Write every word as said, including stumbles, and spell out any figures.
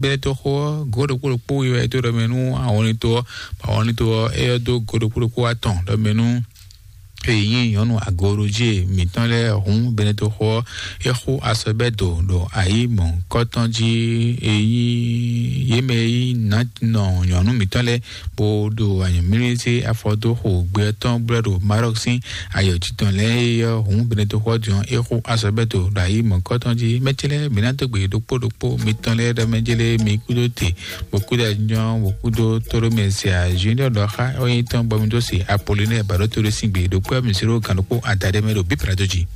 Bɛ́lɛ́ tó xó ɔ́, gǒ ɖokpó ɖokpó wiwa e dó ɖɔ mɛ nú awɔnlin tó ɔ́, awɔnlin tó ɔ́, é ɔ́ dó gǒ ɖokpó ɖokpó atɔn ɖɔ mɛ nú èyí nyɔ̌nu agorojí mǐtɔn lɛ́ɛ hǔn Benetoxo ɔ́, é xú asɔbɛ́do ɖo ayǐ mɔ̌hunkɔtɔn jí. Èyí yě mɛ e nyí nǎ nɔ nyɔ̌nu mǐtɔn lɛ́ɛ bó ɖo anyɔ̌mlísí afɔdóxo gbé ɔ́ tɔn blɛ́ ɖo Marɔk sín ayɔ̌jitɔn lɛ́ɛ é ɔ́ hǔn Benetoxo ɔ́ din ɔ́, é xú asɔbɛ́do ɖo ayǐ mɔ̌hunkɔtɔn jí. Mɛ ce lɛ́ɛ, mǐ ná dó gbe ɖokpó ɖokpó mitɔn lɛ́ɛ ɖɔ mɛ jélé mi kúdó te bó kúdó anyɔ bó kúdó tóɖó mɛ se azǐ ɖɔ ɖɔ xá ɔ́ nyí tɔn bɔ mi dó se Apolinɛ́ɛ bǎɖótó ɖé sín gbe ɖokpó ɔ́ mi zéro gǎn ɖokpó adaɖé mɛ ɖo bíblá dó jí.